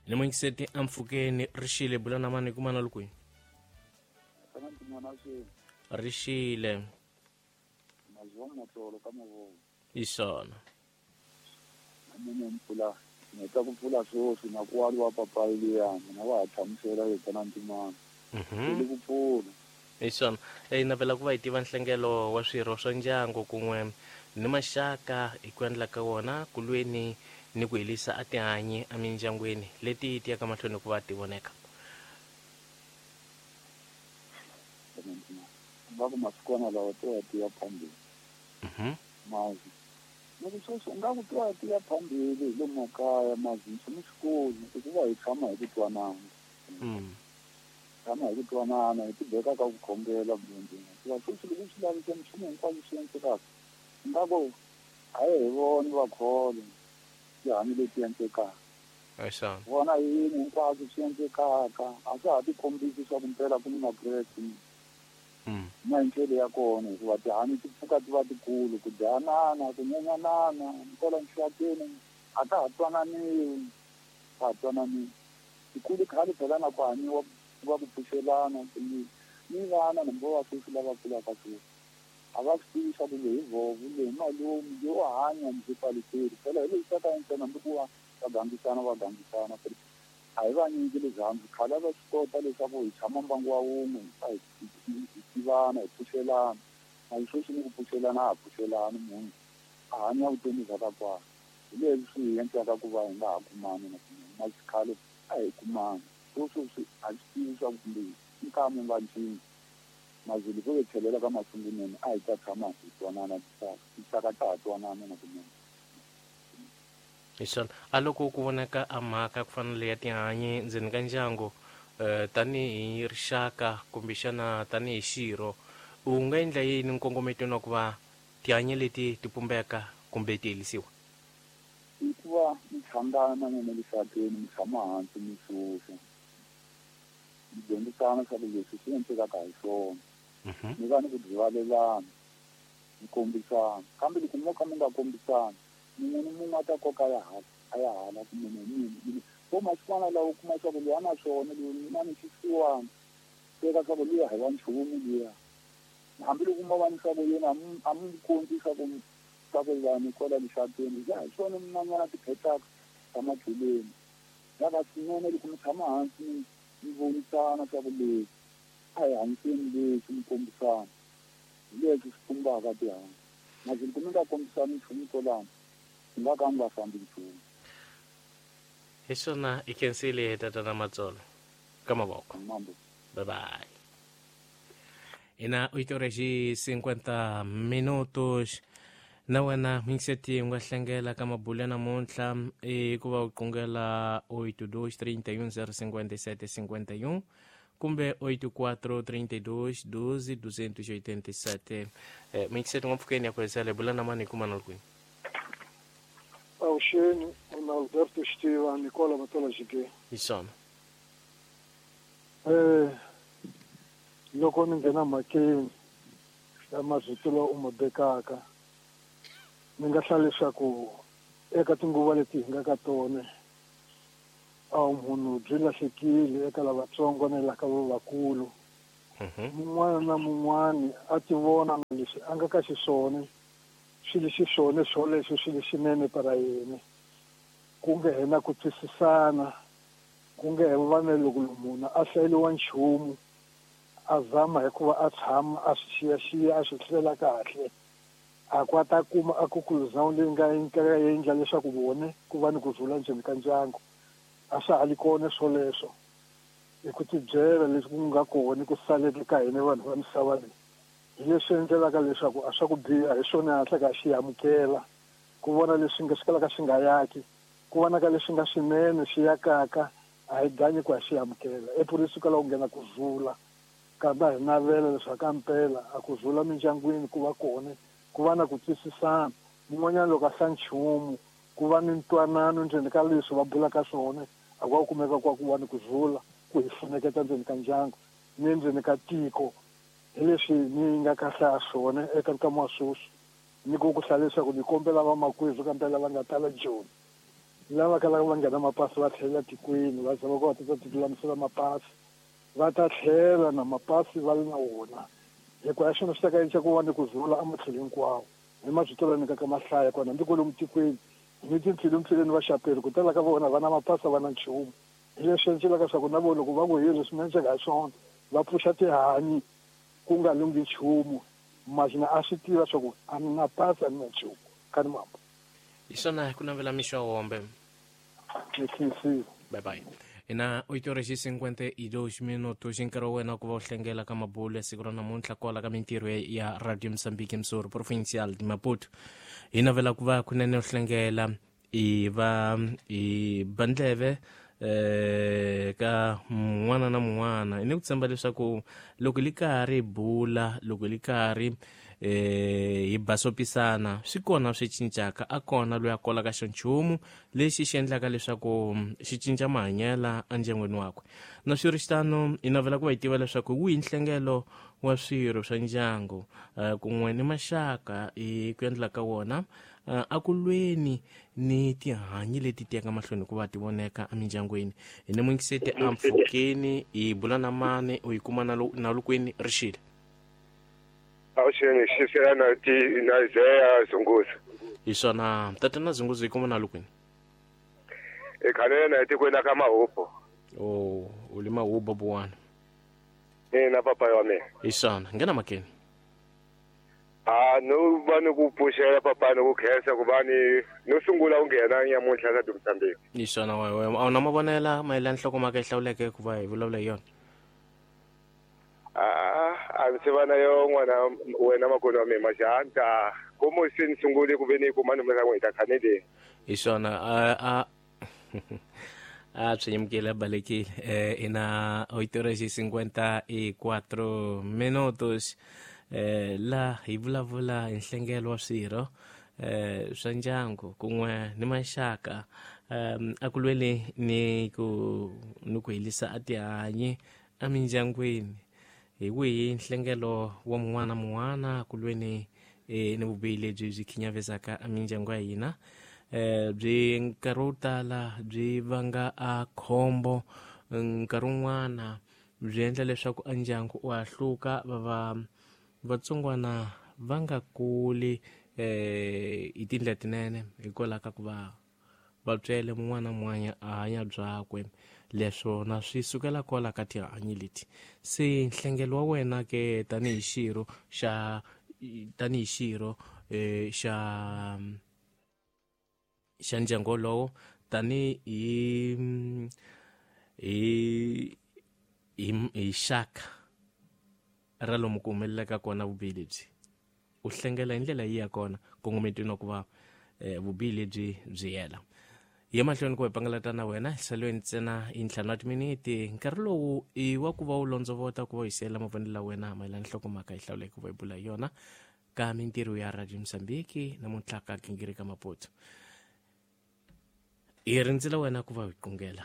Ni mungiseti ampfhukeni ri xile bula na mani kumana li kwihi? Ri xile. Hi swona. Mina ni pfula ni heta ku pfula sweswi na ku waliwa papayi liya mina wa ha hlamusela yena na ntimana. Ni ku pfula. Hi swona. Hi navela ku va hi tiva nhlengelo wa swirho swa ndyangu kun'we ni maxaka hi ku endla ka wona ku lweni ni ku helisa a tihanyi emindyangwini leti ti yaka mahlweni ku va ti voneka. Nga ku masikwana lawa to ya ti ya phambili. Mazi. Loko sweswi u nga ku to ya ti ya phambili hi le makaya mazi nchumu xikulu i ku va hi tshama hi ku twanana. Tshama hi ku twanana hi tibeka ka ku khongela munhu hikuva sweswi loko swi laveka nchumu hinkwaswo swi endlekaka nga ku a hi voni vakholo tihanyi leti endlekaka. Vona yini hinkwaswo swi endlekaka a swa ha tikombisi swa ku mpela ku ni makreste na hi ndlela ya kona hikuva tihanyi ti pfuka ti va tikulu ku dyanana ku nyenyanana kwala nxakeni a ka ha twananiwi ka ha twananiwi tikulu khale phela na ku hanyiwa va ku pfuxelana ni vana nambo va sweswi lava kulaka sweswi a va swi tivi swa ku leyi vovo leyi malume yo hanya ndzi paliseri phela hi leswi ka ntsena hambi ku va va gangisana va gangisana a hi vanyingi rirhandzu khale a va swi kota leswaku hi tshama mbangu wa wun'we hi tivana hi pfuxelana a hi sweswi ni ku pfuxelana a ha pfuxelani munhu a hanya vutomi bya ka kwala hi leswi swi hi endlaka ku va hi nga ha kumani na kunene na xikhale a hi kumani sweswi a swi tivi swa ku kumbe nkamu nga cinci mazulu ko tlhelela ka masungulweni a hi ta tshama hi twanana tinxaka ta ha twanana na kunene. Hi swona a loko ku vonaka a mhaka ku fana leya tihanyi ndzeni ka ndyangu tanihi rixaka kumbexana tanihi xirho u nga endla yini nkongometweni wa ku va tihanyi leti ti pumbeka kumbe ti helisiwa? I ku va mi hlangana n'wina lixakeni mi tshama hansi mi susa mi dyondzisana swa ku leswi swi endlekaka hi swona mi va ni ku rivalelana mi kombisana kambe loko mo ka mi nga kombisani mun'we ni mun'we a ta koka ya hala a ya hala ku munhu hi mina vo masikwana lawa u kuma swa ku luya na swona loyi na ni xisiwana teka swa ku luya hi wa nchumu luya hambiloko mo va ni swa ku yena a mu kombi swa ku vanhu kwala lixakeni ya hi swona min'wanyana tiphetaka ta matlheleni ya va swinene loko mi tshama hansi mi vonisana swa ku leswi a hi hanyiseni leswi mi kombisana hi leswi swi pumbaka tihanyi masi loko mi nga kombisani nchumu kwalano mi nga ka mi nga fambi nchumu. Hi swona i khensile tatana Matsolo ka mavoko. Bye bye. Ina 8 horas e 50 minutos. Na wena mingiseti u nga hlengela ka mabulu ya namuntlha i ku va u qungela 82 31 057 51 kumbe 84 32 12 287. Mingiseti nga mpfhukeni ya ku hesela bula na mani kuma na kwini. Avuxeni una Alberto Xitiva Nicola Matola Jige. Hi swona. Loko ni nghena mhakeni ya marito lawa u ma bekaka ni nga hlaya leswaku eka tinguva leti hi nga ka tona a munhu byi lahlekile eka lavatsongo na la ka lavakulu. Mun'wana na mun'wani a ti vona na leswi a nga ka xiswona swi li xiswona swoleswo swi li xinene para yena ku nge he na ku twisisana ku nge he va na loko munhu a hlayeliwa nchumu a zama hikuva a tshama a swi xiyaxiya a swi hlela kahle a ku a ta kuma a conclusion leyi nga endla leswaku vone ku va ni ku rhula ndzeni ka ndyangu a swa ha li kona swoleswo hi ku tibyela leswi ku nga kona ku saleke ka hina vanhu va misava leyi hi leswi endlelaka leswaku a swa ku biha hi swona hatlaka a xi amukela ku vona leswi nga swi kalaka swi nga yaki ku vona ka leswi nga swinene swi yakaka a hi ganyi ku a xi amukela epurisi kwalaho ku nghena ku rhula kambe a hi navela leswaku ka mpela a ku rhula mindyangwini ku va kona ku va na ku twisisana mun'wanyana loko a hla nchumu ku va ni ntwanano ndzeni ka leswi va bulaka swona a ku va kumeka ku va ni ku rhula ku hi funeketa ndzeni ka ndyangu ni ndzeni ka tiko hi leswi ni nga ka hlaya swona eka nkama wa sweswi ni ku ku hlaya leswaku ni kombela vamakwerhu ka mpela va nga tala Joni. Lava kalaka va nghena mapasi va tlhelela tikweni va zama ku va ta tilulamisela mapasi va ta tlhela na mapasi va ri na wona hikuva ya xona swi ta ka endla ku va ni ku zula ematlhelo hinkwawo hi mavito la nyikaka mahlaya kona hambi kwalomu tikweni ni timpfilumpfileni va xaperi ku tala ka vona va na mapasi va na nchumu hi leswi endlelaka swa ku na vona loko va ku hi leswi mi endleka hi swona va pfuxa tihanyi ku nga lunghi nchumu mazina a swi tiva swa ku a ni na pasi a ni na nchumu ka ni mambo. Hi swona ku navela mixo wombe. Ni khensile. Bye bye. Ina 8:52 minutos nkarhi wa wena ku va u hlengela ka mabulo ya siku ra namuntlha kwala ka mintirho ya Radio Mozambique Msoro Provincial de Maputo. Hi navela ku va kunene u hlengela i va i bandleve ka mun'wana na mun'wana. Ni ku tshemba leswaku loko li karhi bula, loko li karhi hi basopisana, swi kona swi cincaka, a kona loyi a kolaka xa nchumu lexi xi endlaka leswaku xi cinca mahanyela endyangwini wakwe. Na swi ri xitano, hi navela ku va hi tiva leswaku hi wihi nhlengelo wa swirho swa ndyangu kun'we ni maxaka hi ku endla ka wona a ku lweni ni tihanyi leti tiyaka mahlweni hikuva ti voneka emindyangwini. Hi ni muingiseti a mpfhukeni hi bula na mani u yi kuma na lukwini rixile. Awuxeni xisela na ti na Zeya Zunguza. Hi swona tatana Zunguza, yi kuma na lukwini. E khanele na etikweni la ka Mahubo. Oh, u le Mahubo buwana. Ina papa wa mina. Hi swona nghena makeni. A no va ni ku pfuxela papa ni ku khensa ku va ni no sungula u nghena nyamuntlha ka Mozambique. Hi swona wewe a wu na mavonela mayelana nhlokomhaka yi hlawuleke ku va hi vulavula hi yona? A ndzi va na yo n'wana wena makoni wa mina majanta komo se ni sungule ku ve ni kuma nomero ya n'wina khanele. Hi swona a swi nyimukile balekile. Ina 8:54 minutos la hi vulavula hi nhlengelo wa swirho swa ndyangu kun'we ni maxaka a ku lweni ni ku helisa a tihanyi emindyangwini. Hi wihi nhlengelo wa mun'wana mun'wana ku lweni ni vubihi lebyi byi khinyavesaka emindyangu ya hina, byi nkarhi wo tala byi vanga a khombo, nkarhi wun'wana byi endla leswaku a ndyangu u hahluka, va vatsongwana va nga kuli hi tindlela tinene hikwalaho ka ku va vatswele mun'wana mun'wana a hanya byakwe. Leswo na swi sukela kwala ka tihanyi leti. Se nhlengelo wa wena ke tanihi xirho xa xa ndyangu wolowo, tanihi hi hi xaka ra lomu ku humelelaka kona vubihi lebyi, u hlengela hi ndlela yi ya kona kongometweni wa ku va vubihi lebyi byi hela. Ye mahlweni ku hi pangalata na wena salweni ntsena hi 5 wa timiniti. Nkarhi lowu i wa ku va u londzovota ku va u hi siyela mavonelo la wena mayelana nhlokomhaka yi hlawuleke ku va hi bula hi yona ka mintirho ya Radio Mozambique namuntlha ka Gingirika Maputo. Hi rindzela wena ku va hi qungela.